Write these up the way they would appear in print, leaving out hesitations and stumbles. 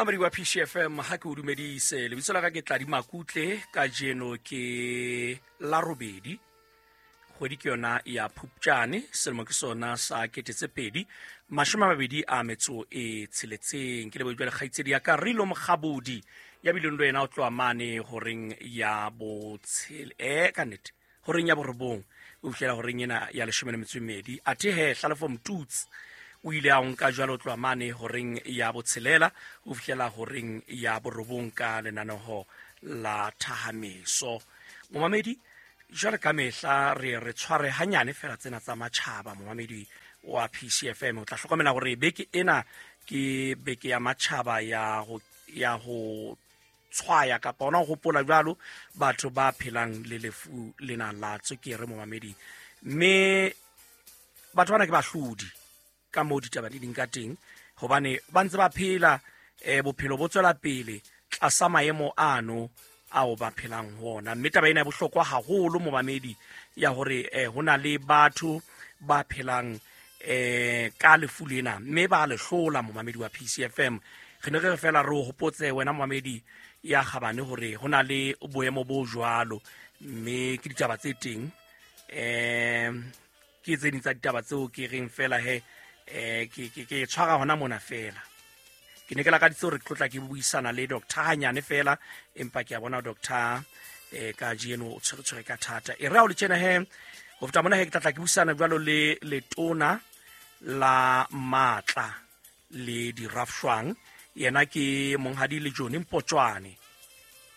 Mamedi wa PCFM, ha ke o dumedise. Lebitso la ka ke Tladi Makutle. Kajeno ke la robedi, kgwedi ke yona ya Phupjane, selemo ke sona sa 2026. Ke lebohe jwale kgaitsedi ya ka Rilo Mokgabodi ya bileng le wena o tloha mane horeng ya botshele ka nnete horeng ya borobong o fihlela horeng ena ya 12. Athe he Hlalefo Mtutsi o ile a nka jwalo tloha mane horeng ya botshelela o fihlela horeng ya borobong ka lenaneho la thahameso. Momamedi, jwale ka mehla re tshware hanyane fela tsena tsa matjhaba. Momamedi wa PCFM, o tla hlokomela hore beke ena ke beke ya matjhaba ya ho tshwaya kapa ona ho hopola jwalo batho ba phelang le lefu lena la tswekere, momamedi. Mme batho bana ke bahlodi ka moo ditaba di ding ka teng, hobane ba ntse ba phela, bophelo bo tswela pele tlasa maemo ano ao ba phelang ho ona. Mme taba ena e bohlokwa haholo, momamedi, ya hore ho na le batho ba phelang ka lefu lena mme ba le hlola. Momamedi wa PCFM, re ne re re fela re o hopotse wena momamedi ya kgabane hore ho na le boemo bo jwalo, mme ke ditaba tse teng, ke tse ding tsa ditaba tseo ke reng fela he ke tshwara hona mona fela. Ke ne ke lakaditse hore ke tlotla ke buisana le doctor hanyane fela, empa ke a bona doctor ka jeno o tshwere ka thata. E re ha o le tjena he, ho feta mona he, ke tlatla ke buisana jwalo le letona la matla le dirafshwang, yena ke monghadi le John Mpotjwane.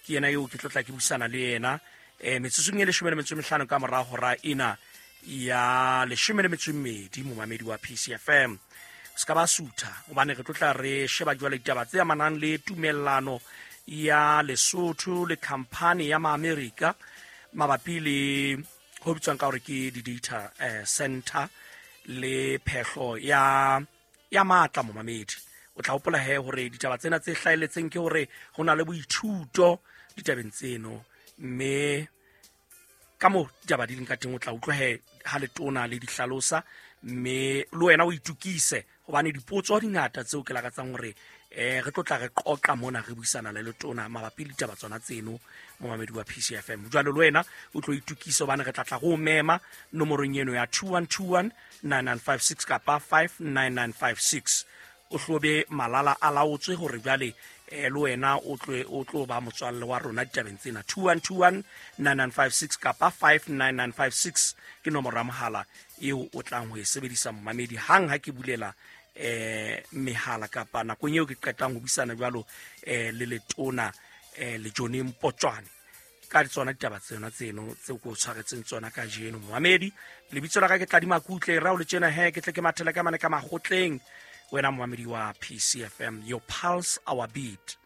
Ke yena eo ke tlotla ke buisana le yena metsotsong e 15 ka mora hora ena ya 12. Momamedi wa PCFM, se ka ba sutha, hobane re tlotla re sheba jwale ditaba tse amanang le tumellano ya Lesotho le khampani ya Maamerika mabapi le ho bitswang ka hore ke di-data center le phehlo ya matla. Momamedi, o tla hopola he hore ditaba tsena tse hlahelletseng ke hore ho na le boithuto ditabeng tseno, mme ka mo ditaba di leng ka teng o tla utlwa he ha letona le di hlalosa, mme le wena o itukise hobane dipotso di ngata tseo ke lakatsang hore re tlo tla re qoqa mona re buisana le letona mabapi le ditaba tsona tseno. Momamedi wa PCFM, jwalo le wena o tlo itukise hobane re tla tla go mema nomorong eno ya 2121 9956 kapa 59956. O hlobe malala a laotswe hore jwale le wena o tlo ba motswalle wa rona ditabeng tsena. 2121 9956 kapa 59956 ke nomoro ya mohala eo o tlang ho e sebedisa, momamedi, hang ha ke bulela mehala kapa nakong eo ke qetang ho buisana jwalo le letona le John Mpotjwane ka tsona ditaba tsena tseno tseo ke o tshwaretseng tsona kajeno. Momamedi, lebitso la ka ke Tladi Makutle. Ra o le tjena he, ke tle ke mathele ka mane ka makgotleng. Wena momamedi wa PCFM, your pulse, our beat.